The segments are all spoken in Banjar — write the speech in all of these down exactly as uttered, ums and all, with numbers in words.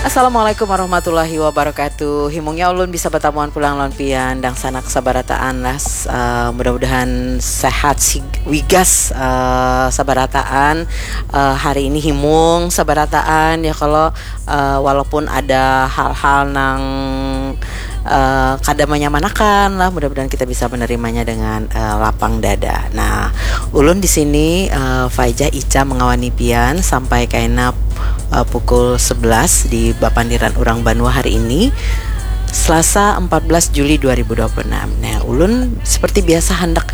Assalamualaikum warahmatullahi wabarakatuh. Himungnya ulun bisa batamuan pulang lawan pian, dangsanak sabarataan lah. S-, eh, mudah-mudahan sehat sig-, wigas, eh, sabarataan. Eh, hari ini himung sabarataan ya, kalau, eh, walaupun ada hal-hal nang, eh, kada manyamanakan lah, mudah-mudahan kita bisa menerimanya dengan, eh, lapang dada. Nah, ulun di sini, eh, Faijah Ica mengawani pian sampai kaina, eh, pukul sebelas di Bapandiran Urang Banua hari ini, Selasa empat belas Juli dua ribu dua puluh enam. Nah, ulun seperti biasa handak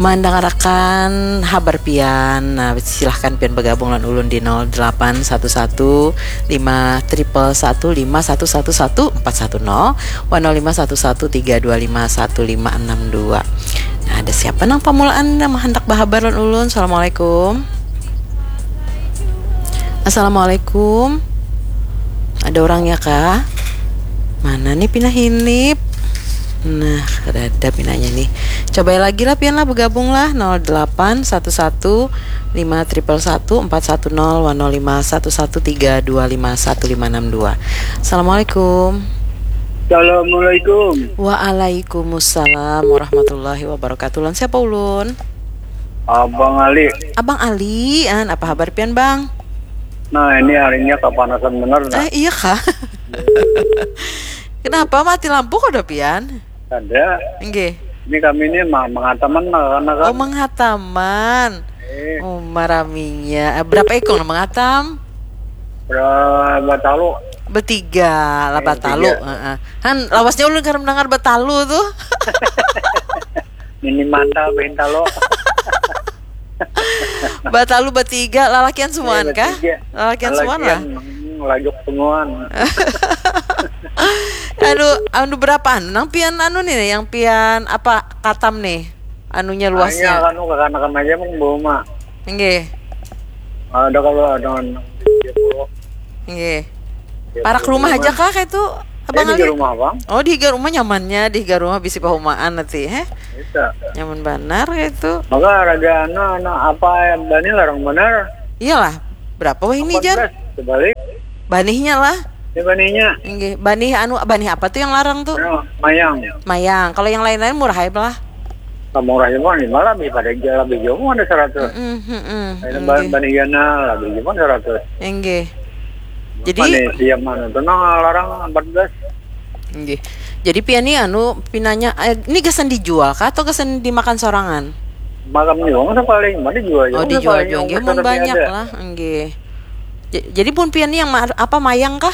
mandangarakan habar pian. Nah, silahkan pian bergabung lawan ulun di nol delapan satu satu lima triple satu lima satu satu satu empat satu nol, wan nol lima satu satu tiga dua lima satu lima enam dua. Nah, ada siapa nang pamulaan nang handak bahabar lawan ulun? Assalamualaikum. Assalamualaikum. Ada orangnya kah? Mana nih pina hinip? Nah, kada ada pinanya nih. Coba lagi lah pian lah, bergabung lah, nol delapan satu satu lima triple satu empat satu nol, wan nol lima satu satu tiga dua lima satu lima enam dua. Assalamualaikum. Assalamualaikum. Waalaikumsalam warahmatullahi wabarakatuh. Lawan siapa ulun? Abang Ali. Abang Ali, an, apa habar pian, Bang? Nah, ini harinya kapanasan bener, nah. Eh, iya kah? Kenapa mati lampu kok, pian? Ada. Nggih. Ini kami ini ma- mengataman, nah, karena kan. Oh, menghataman. Eh, Oh, maraminya. Eh, berapa ikung nang mengatam? Berapa talu? Bertiga lah, Eh, batalu. tiga. Heeh. Han, lawasnya ulun kada mendengar batalu tuh. Ini mantal, bintalo. Batalu bertiga, lalakian semuaan Eh, kah? bertiga. Lalakian semuaan lah. Lalakian, hmm, lajuk semuaan. Anu, anu berapaan? Nang pian anu nih, yang pian apa katam nih? Anunya, Hanya luasnya. Anu, kakanakan aja mau bawa mak. Nggih. Ada kalau ada enam puluh. Nggih. Parak rumah aja kah kayak itu, Abang Ini Ali? Di rumah, Bang. Oh, di higa rumah nyamannya, di higa rumah bisi pahumaan nanti, heh. Bisa. Nyaman banar kayak itu. Maka raga anu, anu apa yang bani larang benar. Iyalah, berapa wah ini, Jan? Sebalik. Banihnya lah. Ini baninya. Nggih, banih anu, banih apa tuh yang larang tuh? Anu, mayang. Mayang. Kalau yang lain-lain murah ya lah. Kamu murah cuma lima lah, lebih pada aja lebih jauh ada seratus. Mm, mm, mm, Ada nggih. Ban Baniana lebih cuma seratus. Nggih. Jadi, Mana siap mana tenang larang empat belas. nggih. Jadi pian nih anu pinanya, eh, ini gasan dijual kah atau gasan dimakan sorangan? Makan juga masa paling mana jual Oh, dijual juga, nggih, mun banyak lah, nggih. J- Jadi pun pian nih yang ma- apa, mayang kah?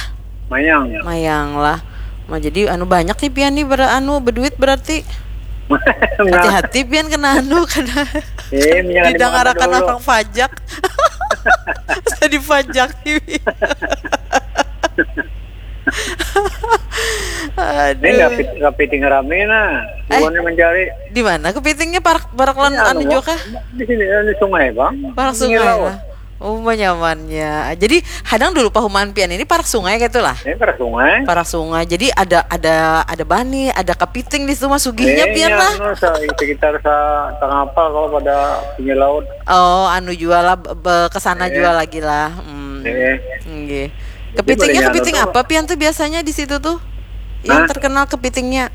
Mayang. Mayang lah. Nah, jadi anu banyak nih pian nih ber anu berduit berarti. Nah, Hati-hati pian kena anu, kena eh, jangan didangarakan dimakan dulu. Orang pajak. Jadi pajak nih. Ini nggak Aduh. pit- nggak piting rame nah. Eh. Bukannya mencari. Di mana kepitingnya, parak parak lan Ya, anu anu, juga kah? Di sini di sungai, Bang. Parak Di sungai laut. Lah. Oh, nyamannya. Jadi hadang dulu pahumaan pian ini parak sungai gitu lah. Ini parak sungai. Parak sungai. Jadi ada ada ada bani, ada kepiting di situ mah, sugihnya Eh, pian iya, lah. Anu, se- sekitar sa tengah apa kalau pada pinggir laut. Oh, anu jual lah, be- be- kesana Eh. Jual lagi lah. Hmm. Eh. Nggih. Jadi Kepitingnya boleh kepiting anu apa pian tuh biasanya di situ tuh? Yang Hah? Terkenal kepitingnya.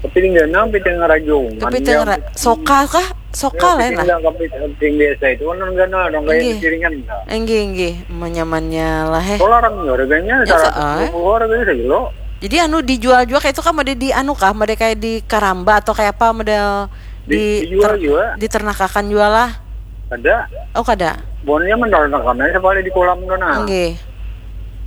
Kepiting ganal, kepiting rajung. Kepiting Manjang. Ra- soka kah? Soka lah Kepiting lah. Ganal, kepiting, kepiting biasa itu kan ganal dong kayak Nggih. piringan. Enggih, enggih. Menyamannya lah, eh. Kalau larang harganya Ya, seratus soal. dua puluh harganya sekilo. Jadi anu dijual juga kayak itu kah, model di anu kah, model kayak di karamba atau kayak apa, model Di- di dijual juga. Diternakan jual lah. Ada. Oh, kada. Bonnya mendarat aja sekali di kolam tuh nah. Nggih.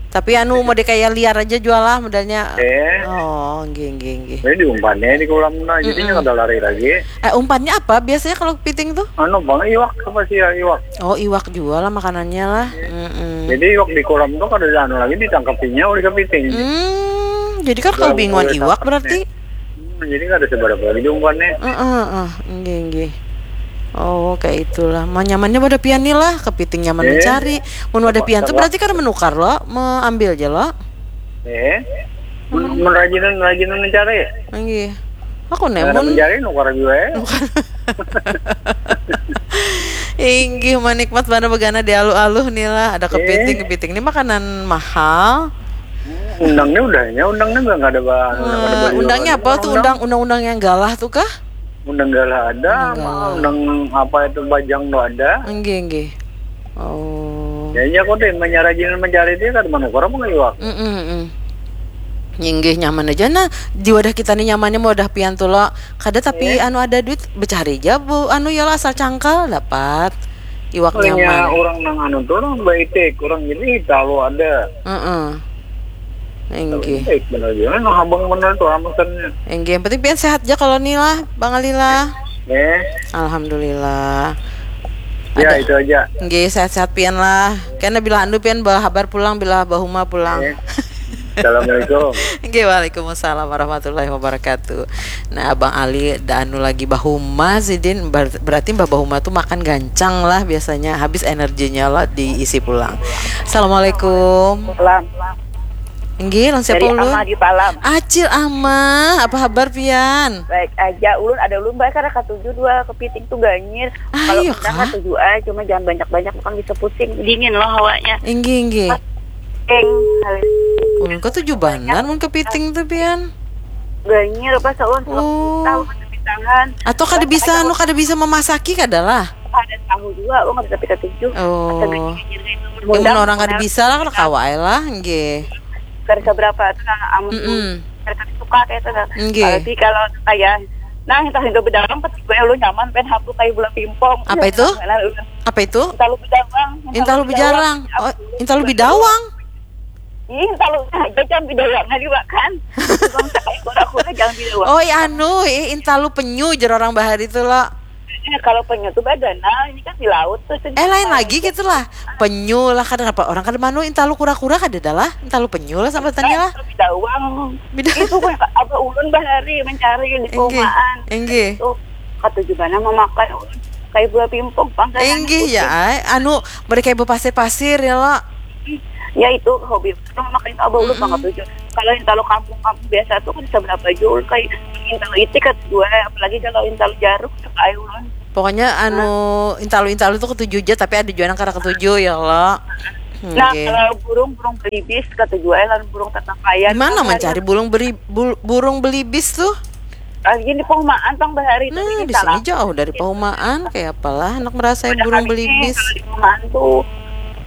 Tapi anu model kayak liar aja jual lah modelnya. Eh. Oh, nggih, nggih, nggih. Jadi diumpannya di kolam nah, jadinya Mm-mm. Kada lari lagi. Eh, umpannya apa biasanya kalau kepiting tuh? Anu bang, iwak apa sih ya, iwak? Oh, iwak jual lah makanannya lah. Mm-mm. Jadi iwak di kolam tuh kada ada anu lagi, ditangkapinya oleh kepiting. Hmm, jadi kan kalau Kalau bingungan boleh iwak tangkap berarti. Hmm, jadi kada seberapa lagi diumpannya. Heeh, heeh, nggih, nggih. Oh, kayak itulah. Manyamannya pada pian nih lah, kepiting nyaman Eh. mencari. Mun ada pian tuh Apa? Berarti kan menukar lo, mengambil aja lo. Eh, men- menrajinan rajinan mencari. Nggih. Aku nih Nah, mun mencari nukar juga ya. Inggih, manikmat mana begana di aluh-aluh nih lah. Ada kepiting, Eh. Kepiting ini makanan mahal. Undangnya udahnya, undangnya nggak ada bah. Undangnya apa tuh, undang undang-undang yang galah tuh kah? Undang galah ada, undang apa itu bajang tuh ada. Enggih, enggih. Oh. Ya iya kok deh, menyarajin mencari dia kan mana orang mau iwak. Mm-mm. Inggih, nyaman aja nah. Di wadah kita nih nyamannya mau wadah pian tuh lo. Kada tapi anu ada duit, becari aja bu anu ya lah, asal cangkal dapat. Iwak nyaman. Orang nang anu tuh orang baitik, orang ini talu ada. Heeh. Inggih. Baik bener juga, nah abang bener tuh amasannya. Inggih, yang penting pian sehat aja kalau nih lah, Bang Ali lah. Eh, Alhamdulillah. Ya itu aja. Nggih, sehat-sehat pian lah. Kena bila anu pian bahabar pulang, bila bahuma pulang. Eh, Assalamualaikum. Nggih, waalaikumsalam warahmatullahi wabarakatuh. Nah, Abang Ali da anu lagi bahuma sidin, ber- berarti mbah bahuma tuh makan gancang lah biasanya, habis energinya lah diisi pulang. Assalamualaikum. Salam. Nggih, lawan siapa Dari ulun? Ama di Palam. Acil Ama, apa kabar pian? Baik aja, ulun ada ulun baik karena katuju dua kepiting tuh ganyir. Ah, Kalau iya udah kah? Katuju aja, cuma jangan banyak-banyak, bukan bisa pusing, dingin loh hawanya. Inggih, inggih. Eng, Ulun katuju banar mun kepiting tuh pian. Ganyir apa sawan Oh. Tahu kan bisa tahan. Atau kada bisa anu, kada bisa memasaki kada lah. Ada tahu juga, lo nggak bisa kita tuju. Oh. Ganyir itu. Ya, mun orang kada bisa lah, kada kawa ae lah, nggih. Kada seberapa itu nah, amun Mm-mm. kada suka kayak itu nah. Nggih. Tapi kalau kayak nah, entah itu bedawang, pasti gue lu nyaman, pengen hapus kayak bola pingpong. Apa itu? Nah, udah. Apa itu? Intalu bedawang. Intalu bejarang. Oh, intalu bidawang. Ih, intalu aja jangan bedawang aja dimakan. Bang, kayak kura-kura jangan bedawang. Oh, iya, anu, eh, intalu penyu jar orang bahari tuh lo. Eh, kalau penyu tuh badanal, ini kan di laut tuh. Eh, lain lagi gitu lah. Penyu lah, kada apa orang kada manu intalu kura-kura kada dah lah. Intalu penyu lah sambatannya lah. Bedawang. Beda. Itu kan apa ulun bahari mencari di Inggih. perumahan. Inggih. Itu katuju banar memakan ulun kayak bola pingpong, pangkalan Inggih ya, ai. Anu, mereka ibu pasir-pasir ya lo. Ya itu hobi orang makan itu abah ulun banget tuh. Kalau intalu kampung-kampung biasa tuh kan seberapa jauh kayak intalu itik kan dua, apalagi kalau intalu jaruk suka aja ulun. Pokoknya anu intalu-intalu tuh ketuju aja, tapi ada juga yang kada ketuju ya lo. Nah, Oke. Kalau burung burung belibis katuju aja, lawan burung tatapayan. Di mana mencari burung beri bul- burung belibis tuh? Lagi di perumahan pang bahari itu Nah, ini di salah. Sini jauh dari perumahan, kayak apalah anak merasa Udah burung kali ini, belibis. Kalau di perumahan tuh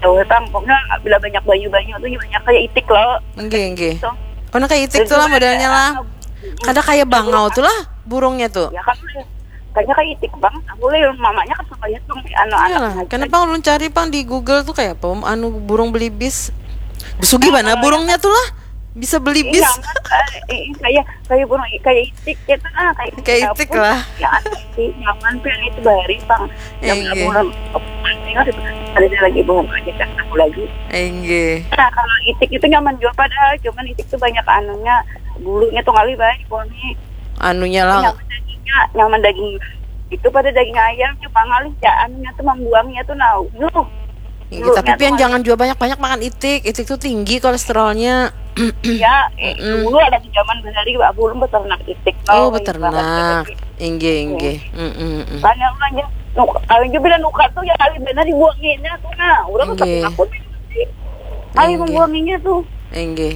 jauh tang, pokoknya bila banyak banyu-banyu tuh banyak kayak itik loh. Nggih, nggih. So, Karena kayak itik tuh lah modelnya lah. Kada kayak bangau tuh lah burungnya tuh. Ya kan, kayaknya kayak itik banget. Aku lihat mamanya kan suka lihat tuh anak-anak. Iyalah, kenapa ulun cari pang di Google tuh kayak apa anu burung belibis. Besugi mana burungnya tuh lah? Bisa belibis. Iya, kan, eh, eh, kayak kayak burung kayak itik gitu nah, kayak Kayak itik lah. Ya aneh sih, nyaman sih itu bahari pang. Yang Iya. Burung ingat itu, ada lagi burung aja kan aku lagi. Enggih. Nah, kalau itik itu nyaman juga padahal, cuman itik tuh banyak anunya, bulunya tuh kali banyak wangi. Anunya lah. Nyaman dagingnya, nyaman daging itu pada daging ayam, cuma ngalih ya anunya tuh membuangnya tuh nah. Nuh. Tinggi, tapi pian jangan juga banyak-banyak makan itik. Itik tuh tinggi kolesterolnya. Ya, eh, dulu ada di zaman bahari aku belum beternak itik. Oh, beternak. Inggih, inggih. Mm, mm, mm. Banyak aja. Kalau juga bila nukar tuh ya kali benar dibuanginnya tuh nah. Udah tuh tapi Inggih. Aku kali Inggih. Membuanginnya tuh. Inggih.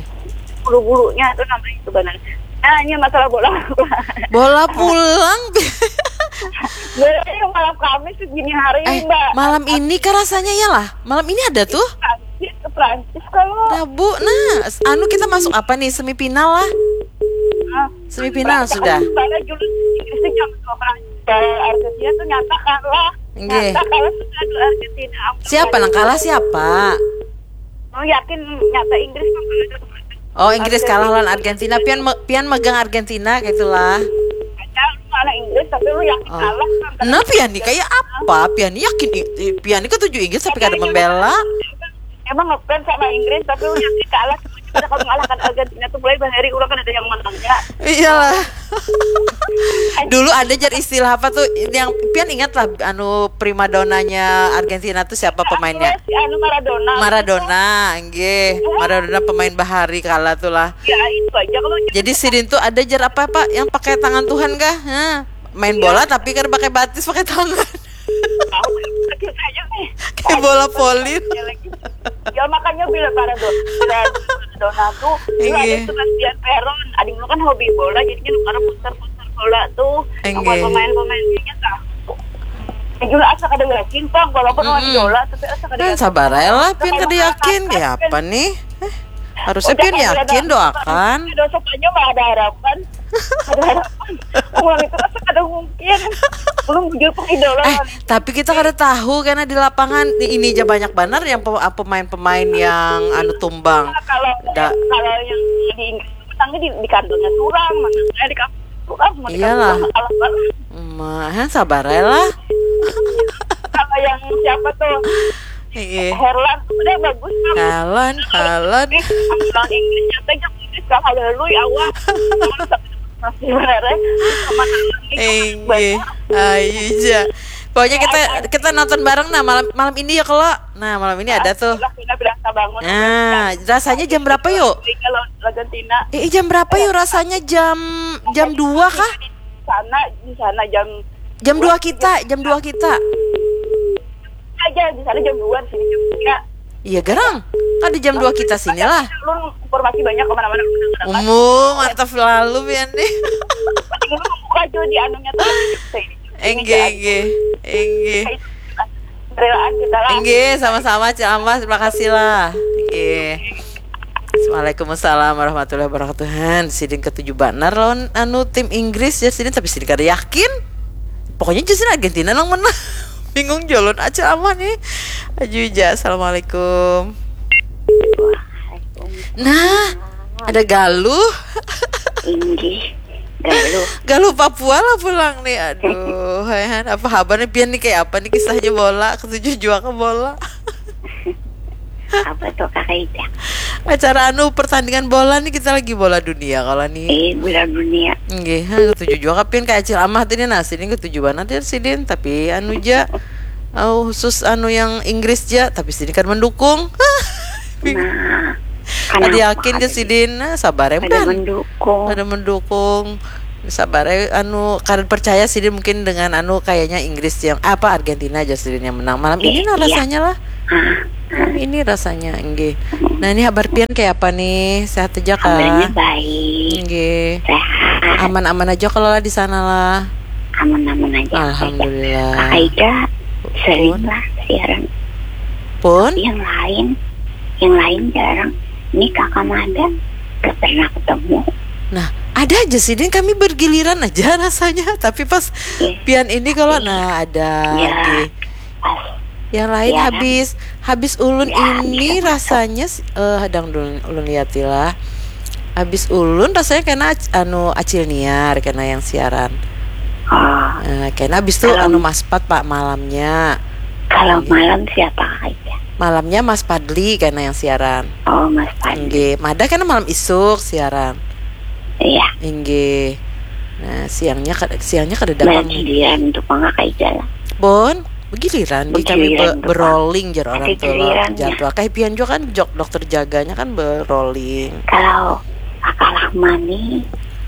Bulu-bulunya tuh namanya itu benar. Nah, ini masalah bola. Bola pulang. Bola yang malam Kamis tuh gini hari, Eh, Mbak. Malam ini kah rasanya ya lah? Malam ini ada tuh? Prancis ke Prancis kalau Rabu. Nah, anu kita masuk apa nih, semifinal lah. ah, Semifinal sudah. Saya dulu Inggris tuh jam dua belas. Argentina tuh nyata kalah. Nggih. Nyata kalah sudah dua Argentina. Ampun. Siapa nang kalah siapa? Lu yakin nyata Inggris kan kalah dua belas? Oh, Inggris kalah lawan Argentina. Pian me- pian megang Argentina gitulah. Ada lu anak Inggris tapi lu yakin Oh. kalah kan? Nah, pian nih kayak apa? Pian nih yakin i- i- pian nih ketuju Inggris tapi kada membela. Emang ngefans sama Inggris tapi lu yakin kalah? Pada kamu mengalahkan Argentina tuh mulai bahari orang kan ada yang menangnya. Iyalah. Dulu ada jar istilah apa tuh yang pian ingat lah, anu primadonanya Argentina tuh siapa pemainnya? Si anu Maradona. Maradona, nggih. Maradona pemain bahari kala tuh lah. Ya itu aja kalau Jadi sidin tuh ada jar apa apa yang pakai tangan Tuhan kah? Hah? Main bola tapi kan pakai batis, pakai tangan. Tahu, kecil aja nih. Kayak bola voli. Ya lagi. Ya makanya bila Maradona, bila Donald tuh dulu ada Inggih. Sebastian Peron. Adik lu kan hobi bola, jadi kan karena poster-poster bola tuh yang buat Inggih. Pemain-pemainnya tahu. Ya juga asa kada yakin bang, walaupun orang Mm-mm. Idola tapi asa kada Nah, yakin. Sabar aja lah, Pian kada yakin. Kayak apa nih? Eh, harusnya Pian yakin, doakan. Dosa banyak mah ada harapan. Ada harapan. Orang itu rasa kada mungkin. Belum bujur pang idola. Eh, tapi kita kada tahu karena di lapangan ini aja banyak banar yang pe- pemain-pemain yang anu tumbang. Nah, kalau Da- kalau yang di Inggris itu menangnya di, di kandangnya surang, menangnya di kampung surang, mau di Iyalah. Kampung surang, kalah banget. Mah, sabar aja lah. Kalau yang siapa tuh? Iya. Herlan tuh udah bagus kan. Herlan, Herlan. Lawan Inggrisnya teh yang Inggris kalah lalu ya Allah. Masih benar ya. Sama Herlan nih. Inggih. Ayo aja. Pokoknya kita kita nonton bareng nah malam malam ini ya kalau. Nah, malam ini ada tuh. Sudah pindah pindah bangun. Nah, rasanya jam berapa yuk? Kalau Argentina. Eh, jam berapa yuk rasanya jam jam dua kah? Sana di sana jam Jam dua kita, jam dua kita. Aja di sana jam dua, di sini jam tiga. Iya garang. Ada jam dua kita sini lah. Lu informasi banyak kemana-mana. Umum mantap lalu pian nih. Penting lu buka aja di anunya tuh. Enggih, enggih, enggih. Relaan kita lah. Enggih, sama-sama Cil Amah, terima kasih lah. Enggih. Assalamualaikum warahmatullahi wabarakatuh. Han, sidin ketuju banar lawan anu tim Inggris ya sidin, tapi sidin kada yakin. Pokoknya jua sidin Argentina nang menang. Bingung jolon aja aman nih. Aju ja. Assalamualaikum. Nah, ada galuh. Inggih. Galuh. Galuh Papua lah pulang nih. Aduh, hai Han, apa habar nih pian nih, kayak apa nih kisahnya bola? Ketuju jua ke bola. Apa tuh Kak Ida? Acara anu pertandingan bola nih, kita lagi bola dunia kalau nih. Eh, bola dunia. Nggih, ha, ketuju juga kapian kayak Acil Amah tadi nasi nih ketuju banget ya sidin, tapi anu ja oh, khusus anu yang Inggris ja, tapi sidin kan mendukung. Nah, ada yakin ke sidin, nah, sabar ya ada mendukung. Ada mendukung. Sabar eh, anu kada percaya sih dia mungkin dengan anu kayaknya Inggris yang apa Argentina aja sih yang menang malam ini lah rasanya lah. Malam ini rasanya enggih. Nah, ini habar pian kayak apa nih? Sehat aja kah? Kabarnya baik. Enggih. Sehat. Aman-aman aja kalau lah di sana lah. Aman-aman aja. Alhamdulillah. Kak Aida sering lah siaran. Pun? Yang lain, yang lain jarang. Ini kakak Mada gak pernah ketemu. Nah, ada aja sih, Din. Kami bergiliran aja rasanya. Tapi pas yeah. Pian ini kalau nah ada yeah. Yang lain yeah. habis habis ulun yeah, ini rasanya uh, hadang ulun, ulun liatilah. Habis ulun rasanya kena anu acil niar kena yang siaran. Oh. Uh, kena habis tuh kalau, anu maspat pak malamnya. Kalau malam siapa aja? Malamnya Mas Padli kena yang siaran. Oh, Mas Padli. Nggih, Mada kena malam isuk siaran. Iya. Inggih. Nah, siangnya siangnya kada datang. Giliran untuk mangak aja lah. Bon, begiliran di kami be, berolling jar orang tua jadwal. Kayak pian juga kan jok dokter jaganya kan berolling. Kalau Kakak Rahmani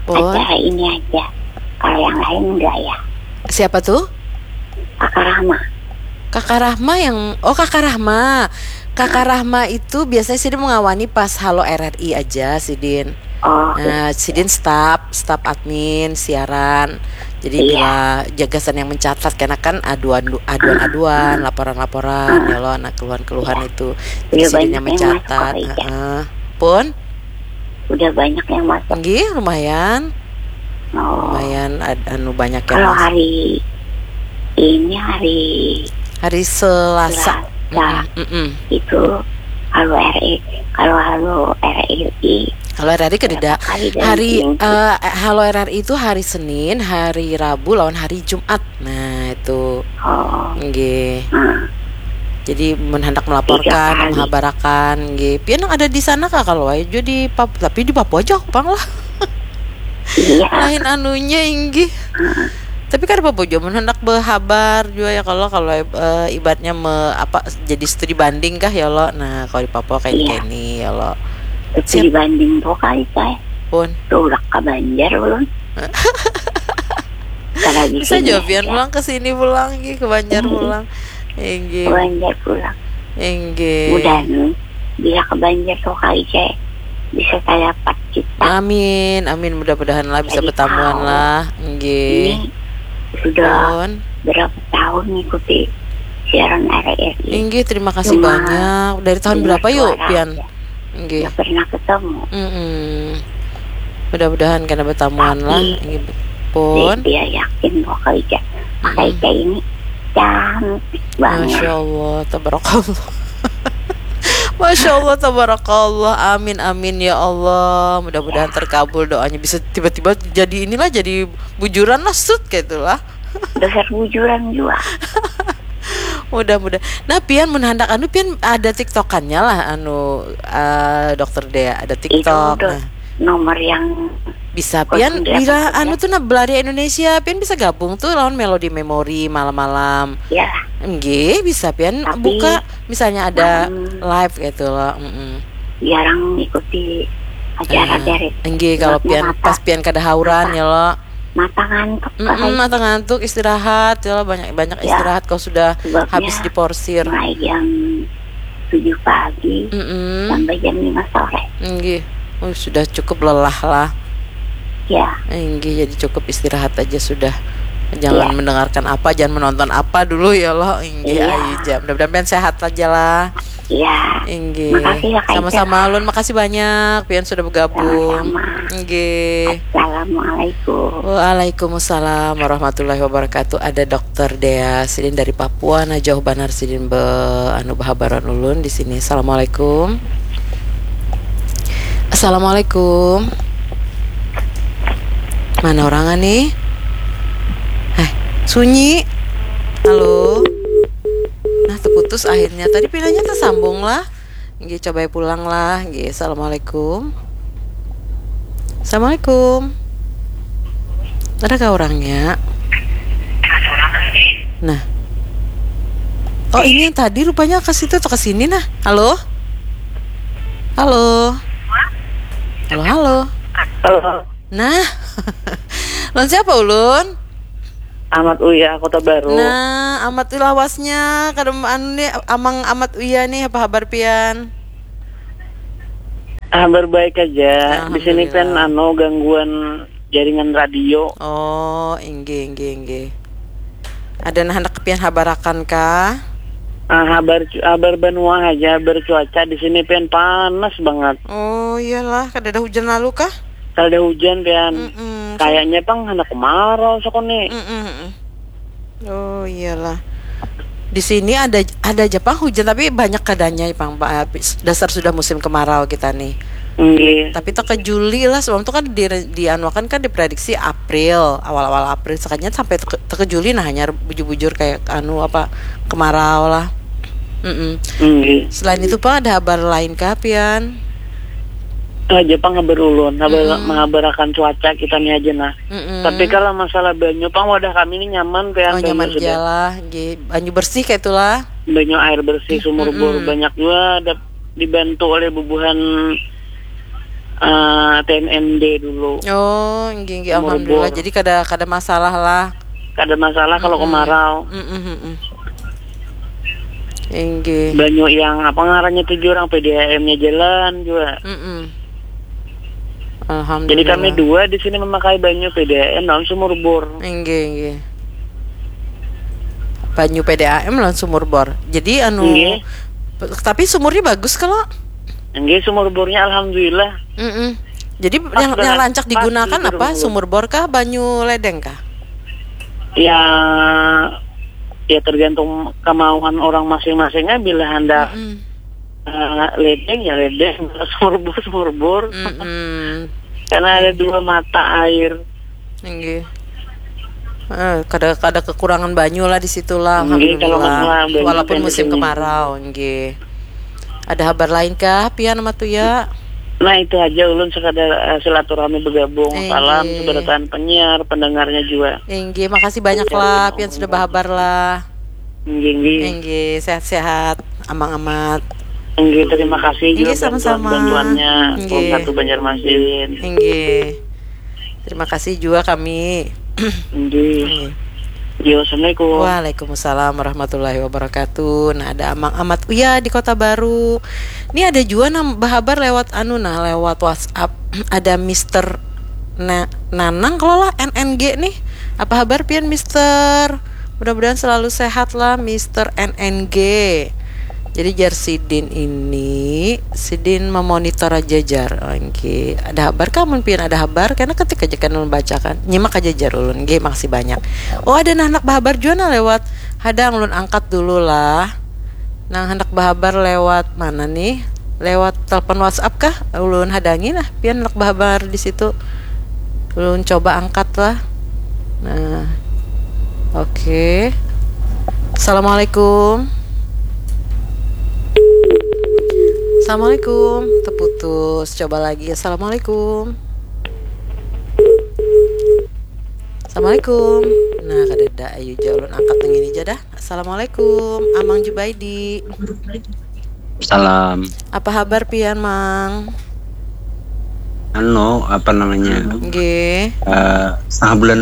acara ini aja. Kalau yang lain enggak ya. Siapa tuh? Kakak Rahma. Kakak Rahma yang oh Kakak Rahma. Kakak Rahma itu biasanya sidin mengawani pas Halo R R I aja sidin. Oh. Nah, sidin staff, staff admin, siaran. Jadi iya. Bila jagasan yang mencatat karena kan aduan aduan-aduan, laporan-laporan ya lo anak keluhan-keluhan iya. Itu. Jadi sidin yang mencatat. Heeh. Pun udah banyak yang masuk. Nggih, lumayan. Oh. Lumayan ad, anu banyak yang kalau masuk. Hari ini hari hari Selasa. Selasa. Mm -mm. Itu kalau R I kalau kalau R I kalau R R I kan tidak hari uh, kalau R R I itu hari Senin, hari Rabu lawan hari Jumat. Nah, itu. Oh. Nggih. Hmm. Jadi mun hendak melaporkan, menghabarakan, nggih. Pian yang ada di sana kah kalau wae juga di Papua, tapi di Papua aja pang lah. Iya. Lain anunya inggih. Hmm. Tapi kan Papua juga mun hendak berhabar juga ya kalau kalau uh, ibaratnya me, apa jadi studi banding kah ya lo. Nah, kalau di Papua kayak iya. Ini ya lo. Studi banding tuh kali saya. Pun. Tuh udah ke Banjar ulun. Bisa juga pian pulang ke sini pulang ke Banjar pulang. Inggih. Ke Banjar pulang. Inggih. Udah nih, bila ke Banjar tuh kali cek. bisa saya dapat kita. Amin, amin, mudah-mudahan lah bisa Jadi betamuan tahu. Lah. Nggih. Ini sudah Pun. Berapa tahun ngikuti siaran R R I. Inggih, terima kasih Cuma banyak. Dari tahun dengar berapa yuk, suara Pian? aja. Inggih. Nggak pernah ketemu. Mm-mm. Mudah-mudahan karena bertamuan Tapi lah. Inggih. Pun. Dia yakin bahwa Kak Ica, Kak Ica ini cantik banget. Masya Allah, tabarakallah. Masya Allah, tabarakallah. Amin, amin ya Allah. Mudah-mudahan terkabul doanya, bisa tiba-tiba jadi inilah, jadi bujuran lah, sut, kayak itulah. Dasar bujuran juga. Mudah-mudah. Nah, Pian mun handak anu, Pian ada TikTokannya lah, anu, eh, Dokter Dea, ada Itu TikTok. udah Nah, nomor yang bisa Pian Dokter Dea bila apa anu ya? Tuh, nah, Belaria Indonesia, Pian bisa gabung tuh lawan Melody Memory malam-malam. Ya, Nggih, bisa Pian Tapi buka misalnya ada malam live gitu loh. Mm-mm. jarang mengikuti acara Ah, dari nggih, kalau sebabnya Pian mata, pas Pian kada hauran mata, ya lo. Mata ngantuk Mm-mm, Kak. Mata ngantuk, istirahat ya lo, banyak-banyak Ya. Istirahat kalau sudah Sebabnya habis diporsir. Mulai jam tujuh pagi Mm-mm. sampai jam lima sore. Nggih. Oh, sudah cukup lelah lah. Ya, Nggih, jadi cukup istirahat aja sudah. Jangan Iya. Mendengarkan apa, jangan menonton apa dulu ya lo. Nggih, Iya. Ayu jam. Mudah-mudahan Pian sehat aja lah. ya. Inggih. Makasih ya, Kak Sama-sama Ica. Ulun, makasih banyak Pian sudah bergabung. Sama-sama. Nggih. Assalamualaikum. Waalaikumsalam warahmatullahi wabarakatuh. Ada Dokter Dea sidin dari Papua, nah, jauh banar sidin be anu bahabaran ulun di sini. Assalamualaikum. Assalamualaikum. Mana orang nih? Eh, sunyi. Halo. Nah, terputus akhirnya. Tadi pilihnya tersambung lah. Nggih, coba pulang lah. Nggih, assalamualaikum. Assalamualaikum. Adakah orangnya? Nah. Oh, ini yang tadi rupanya ke situ atau ke sini nah. Halo? Halo. Halo, halo. Halo. Nah. Lawan siapa ulun? Amat Uya, Kota Baru. Nah, Amat Uya lawasnya, kada anu nih, Amang Amat Uya nih, apa habar pian? Habar baik aja. Di sini kan Alhamdulillah. Anu gangguan jaringan radio. Oh, inggih, inggih, inggih. Ada nah handak pian habarakan kah? Ah, habar cu- habar banua aja, habar cuaca di sini pian panas banget. Oh, iyalah, kada ada hujan lalu kah? Kada ada hujan pian. Mm-mm. Kayaknya pang handak kemarau sakuni. Mm-mm, mm-mm. Oh, iyalah. Di sini ada ada aja pang hujan, tapi banyak kadanya pang, Pak. Dasar sudah musim kemarau kita nih. Nggih. Tapi teke Juli lah, sebelum itu kan di dianuakan kan diprediksi April, awal-awal April, sekalinya sampai teke, teke Juli nah hanya bujur-bujur kayak anu apa, kemarau lah. Mm-mm. Nggih. Selain itu, Pak, ada habar lain kah pian? Aja pang habar ulun, habar Mm-mm. menghabarakan cuaca kita nih aja nah. Mm-mm. Tapi kalau masalah banyu pang wadah kami ini nyaman pian. Oh, Banyu nyaman sudah. Aja lah, nggih. Banyu bersih kayak itulah. Banyu air bersih, sumur bor Mm-mm. banyak juga ada dibantu oleh bubuhan eh, T N M D dulu. Oh, nggih, nggih, Sumur alhamdulillah. bor. Jadi kada kada masalah lah. Kada masalah kalau Mm-mm. kemarau. Mm-mm, mm-mm. Inggih. Banyu yang apa ngarannya tuh orang P D A M-nya jalan juga. Mm-mm. Jadi kami Alhamdulillah. Dua di sini memakai banyu P D A M lawan sumur bor. Inggih, inggih. Banyu P D A M lawan sumur bor. Jadi anu Inggih. Tapi sumurnya bagus kalau? Inggih, sumur bornya alhamdulillah. Mm-mm. Jadi Pas yang, yang banget, rancak pas digunakan jujur, apa? Bu. Sumur bor kah, banyu ledeng kah? Ya, ya tergantung kemauan orang masing-masingnya bila hendak Mm-mm. eh, ledeng ya ledeng, sumur bor sumur bor. Mm-mm. Karena ada dua mata air. Inggih. Eh, kada kada kekurangan banyu lah di situ lah, Inggih, kalau alhamdulillah. masalah banyu Walaupun kan di musim sini. Kemarau, inggih. Ada habar lain kah, pian Amat Uya? Nah, itu aja ulun sekadar eh, silaturahmi bergabung. Inggih. Salam seberataan penyiar, pendengarnya juga. Inggih, makasih banyak Iya, lah, iya. pian sudah berhabar lah. Inggih, inggih. Inggih, sehat-sehat, Amang Amat. Inggih, terima kasih Inggih, juga sama-sama. Bantuan-bantuannya. Inggih. Satu Banjarmasin. Inggih. Terima kasih juga kami. Inggih. Inggih. Yo, assalamualaikum. Waalaikumsalam warahmatullahi wabarakatuh. Nah, ada Amang Amat Uya di Kota Baru. Ini ada juga nang bahabar lewat anu nah, lewat WhatsApp. Ada Mister Na- Nanang kalau lah N N G nih. Apa habar pian, Mister? Mudah-mudahan selalu sehat lah, Mister N N G. Jadi jar sidin ini, sidin memonitor aja jar. Oke, ada habar kah? Mun pian ada habar, karena ketik aja kan ulun bacakan. Nyimak aja jar ulun. Nggih, makasih banyak. Oh, ada nah handak bahabar jua nah lewat. Hadang ulun angkat dulu lah. Nang handak bahabar lewat mana nih? Lewat telepon WhatsApp kah? Ulun hadangi nah, pian handak bahabar di situ. Ulun coba angkat lah. Nah. Oke. Assalamualaikum. Assalamualaikum. Terputus. Coba lagi. Assalamualaikum. Assalamualaikum. Nah, kadada, ayu ja ulun angkat nang ini ja dah. Assalamualaikum, Amang Jubaidi. Salam. Apa habar pian, Mang? Anu, apa namanya? Nggih. Eh, setengah bulan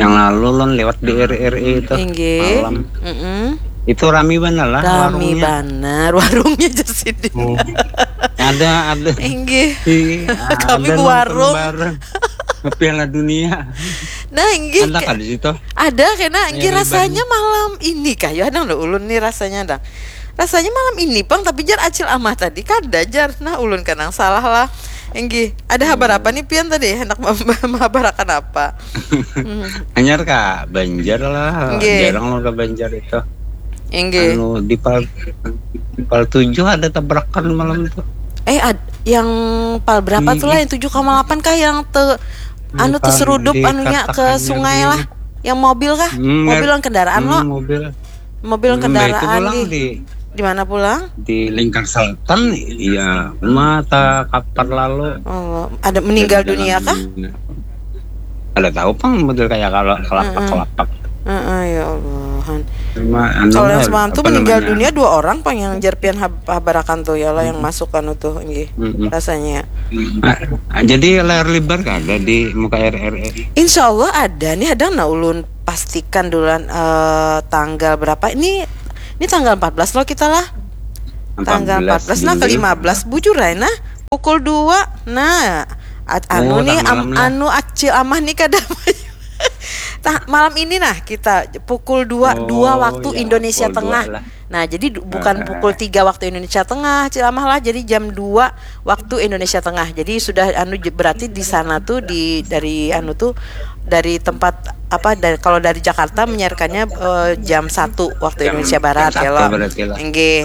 yang lalu lon lewat di R R I itu Inggih. Malam. Mm-mm. Itu rami banget lah Rami warungnya. Banar warungnya jar sidin. Oh. Ada, ada. Inggih. Iya, Kami ada ke warung. Nonton bareng. Piala Dunia. Nah, inggih. Ada kan di situ? Ada kena inggih Iya, rasanya malam ini kayu ada lo ulun nih rasanya dah. Rasanya malam ini pang tapi jar acil amah tadi kada jar. Nah, ulun kanang salah lah. Inggih, ada habar apa nih pian tadi? Hendak mem- menghabarakan apa? Hmm. Anyar kah Banjar lah. Nggih. Jarang lo ke Banjar itu. Inggih. Anu di pal di pal tujuh ada tabrakan malam itu. Eh, ad- yang pal berapa tuh lah, yang tujuh koma delapan kah yang te anu Bukan, terserudup di anunya ke Kartakannya sungai dulu. Lah? Yang mobil kah? Hmm, Mobil mer- yang kendaraan Hmm, lo? Mobil. Mobil yang Hmm, nah, itu kendaraan pulang di di di mana pulang? Di Lingkar Selatan, iya, mata kapar lalu. Oh, ada meninggal Jalan- dunia kah? Ada tahu pang model kayak kalau kelapak-kelapak. Heeh, ya Allah. Cuma anu Kalau yang lah, semalam tuh apa meninggal namanya? Dunia dua orang pang yang jerpian hab- habarakan tuh ya lah yang masuk anu tuh, nggih. Mm-mm. Rasanya. Ah, jadi layar lebar kan ada di muka R R I. Insya Allah ada nih, ada nah ulun pastikan duluan eh, tanggal berapa ini. Ini tanggal empat belas loh kita lah. Tanggal empat belas nah, ke lima belas bujur aja nah, pukul dua. Nah, at- anu Oh, nih tanggal am- enam lah. Anu acil amah nih kada. Tah, malam ini nah kita pukul dua, Oh, dua waktu iya, Indonesia pukul dua Tengah. Lah. Nah, jadi du- bukan Ah. Pukul tiga waktu Indonesia Tengah, Cil Amah lah. Jadi jam dua waktu Indonesia Tengah. Jadi sudah anu j- berarti di sana tuh di dari anu tuh dari tempat apa dari kalau dari Jakarta menyiarkannya eh, jam satu waktu Jam- Indonesia Barat jam ya satu lo. Berarti lah. Nggih.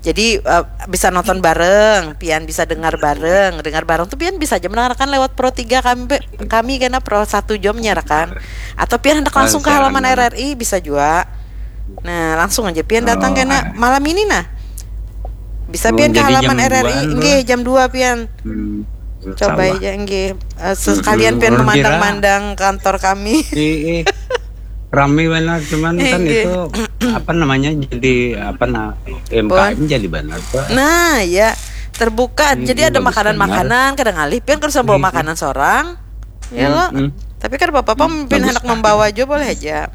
Jadi eh, bisa nonton bareng, pian bisa dengar bareng. Dengar bareng tuh pian bisa aja mendengarkan lewat Pro tiga kami kami kena Pro satu jam menyiarkan. Atau pian hendak Ah, langsung ke siaran halaman mana? R R I bisa juga. Nah, langsung aja pian datang Oh, kena ah. Malam ini nah. Bisa Oh, pian ke jadi halaman jam R R I duaan nggih tuh. Jam dua pian. Hmm, Coba sama. Aja nggih. Eh, sekalian Mm-mm. pian Orang memandang-mandang kantor kami. Ih, ih. Rame banget cuman kan Iya. Itu apa namanya jadi apa nah M K M jadi banget tuh. Nah, ya terbuka. Hmm, Jadi ada bagus makanan-makanan, kadang alih pian kada usah bawa Hmm. Makanan seorang. Ya lo. Hmm, hmm. Tapi kada apa-apa pian Bagus. Hendak membawa aja boleh aja.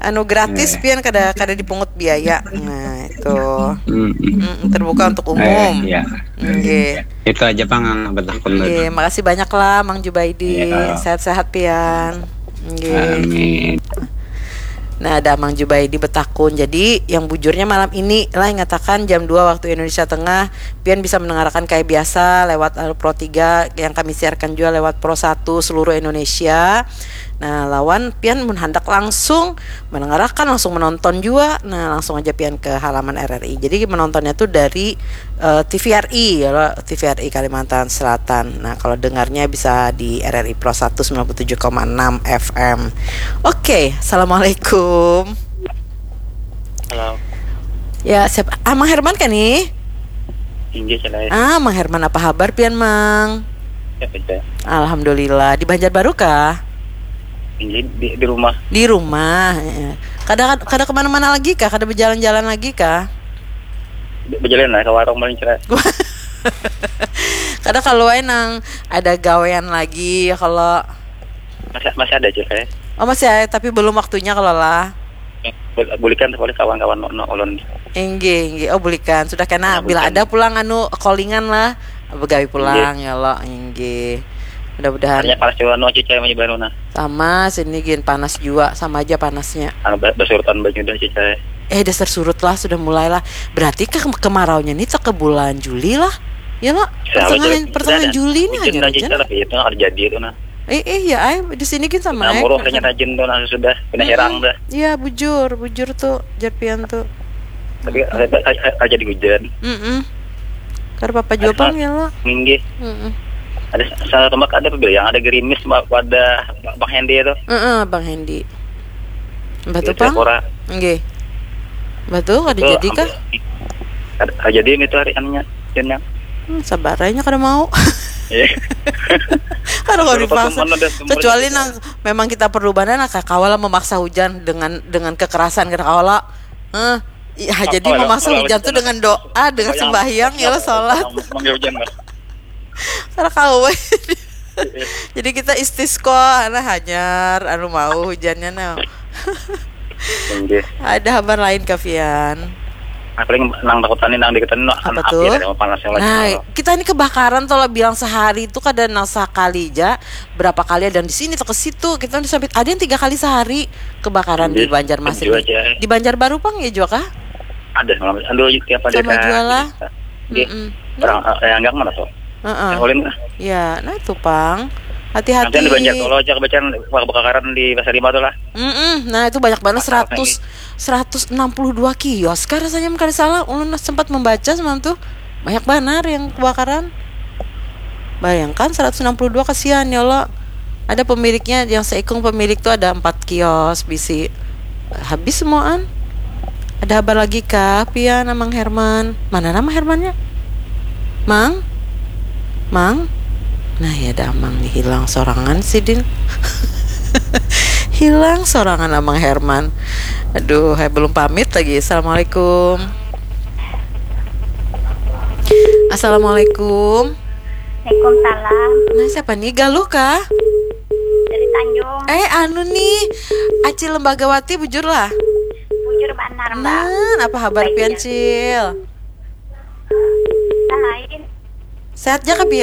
Anu gratis Iya. Pian kada kada dipungut biaya. Nah, itu. Hmm, hmm. Mm-mm, terbuka untuk Eh, umum. Iya. Nggih. Itu aja pang yang betakun Nggih, makasih banyak lah Mang Jubaidi. Iya. Sehat-sehat pian. Nggih. Amin. Nah, ada Mang Jubaidi betakun. Jadi, yang bujurnya malam ini lah ingatakan jam dua waktu Indonesia Tengah, pian bisa mendengarkan kayak biasa lewat Pro tiga yang kami siarkan juga lewat Pro satu seluruh Indonesia. Nah, lawan pian mun handak langsung mendengarkan, langsung menonton juga. Nah, langsung aja pian ke halaman R R I. Jadi menontonnya tuh dari eh, T V R I ya, T V R I Kalimantan Selatan. Nah, kalau dengarnya bisa di R R I Pro satu sembilan puluh tujuh koma enam F M. Oke, assalamualaikum. Halo. Ya, siapa? Ah, Mang Herman kan nih? Inggih, Cil. Ah, Mang Herman apa kabar pian, Mang? Ya, baca. Alhamdulillah. Di Banjarbaru kah? Inggih di, di rumah. Di rumah. Heeh. Kada kada kemana-mana lagi kah? Kada berjalan-jalan lagi kah? Berjalan lah ke warung paling, Cil. Kada kalau wae nang ada gawean lagi ya kalau Masih masih ada, Cil. Eh. Oh, masih ada, tapi belum waktunya kalau lah. Bul- bulikan oleh kawan-kawan no, no ulun. Inggih, inggih. Oh, bulikan. Sudah kena. Nah, Bila bulikan. Ada pulang anu callingan lah, begawi pulang ya lo. Inggih. Mudah-mudahan. Hanya panas juga no cicai mah baru nah. Sama sini gin, panas juga, sama aja panasnya. Anu ba- basurutan baju dah cicai. Eh, dasar surut lah, sudah mulai lah. Berarti ke kemaraunya nih ke bulan Juli lah. Ya lo, Ya, pertengahan betul. pertengahan Ada. Juli nih Hujan hanya dah hujan. Cicai, tapi itu nggak terjadi itu nah. Eh, eh, ya, ay, di sini gin sama Nah, ay. muruh kayaknya rajin tuh nah sudah kena herang dah. Iya, bujur, bujur tuh, Japian tuh. Tapi ada, ada, ada jadi hujan. Mm-mm. Karena papa juga Ada pang ya lo. Minggih. Mm-mm. Ada salah tempat ada apa yang ada gerimis ma- pada Bang Hendy itu. Heeh, Bang Hendy. Batu Iya, pang. Pora. Nggih. Batu kada Itu jadi kah? hampir- ada, ada jadi itu hari anunya hujannya. Hmm, sabar aja kada mau. Iya. Kada mau Beberapa dipaksa. teman ada semua Kecuali gitu. Nang memang kita perlu banar, nah, kada kawa lah memaksa hujan dengan dengan kekerasan, kada kawa lah. Heh, iya, jadi Apa ya? memaksa Kalau hujan kita tuh dengan doa, dengan Bayang- sembahyang ya lo, salat. Manggil hujan lah. Kada kawa. Jadi kita istisqa, nah, hanyar anu mau hujannya nah. Inggih. Ada habar lain, Kavian? Nah, paling nang takutan nih nang deketan no Apa anak tuh? Api ada panas yang lagi. Nah, kita ini kebakaran tuh lah, bilang sehari itu kada nang sakali aja, berapa kali ada yang di sini atau ke situ, kita udah sampai ada yang tiga kali sehari kebakaran di Iya, Banjarmasin. jua aja. Di Banjarbaru pang ya juga kah? Ada malam anu tiap ada Sama ada- jua lah. Iya. Mm-mm. Orang eh, yang enggak mana tuh? Heeh. Yang ulin lah. Ya, nah itu pang. Nanti Hati-hati. Di Banjar Tolo aja kebacaran kebakaran di Pasar Lima tuh lah. Mm-mm. Nah, itu banyak banget, Masalah seratus, seratus enam puluh dua kios kah rasanya, kada salah. Ulun sempat membaca semalam tuh, banyak banar yang kebakaran. Bayangkan, seratus enam puluh dua, kasihan ya Allah. Ada pemiliknya, yang seikung pemilik tuh ada empat kios bisi. Habis semuaan. Ada habar lagi kah, Pian, Amang Herman? Mana nama Hermannya? Mang? Mang? Nah, ya ada Amang nih, hilang sorangan sidin. Hilang sorangan Amang Herman. Aduh, hai, belum pamit lagi. Assalamualaikum. Assalamualaikum. Waalaikumsalam. Nah, siapa nih? Galuh kah? Dari Tanjung. Eh, anu nih, Acil Lembagawati, bujur lah. Bujur banar, Mbak. Nah, apa habar Baik, pian, ya. Cil? Nah, lain. Sehat ja kah, pian?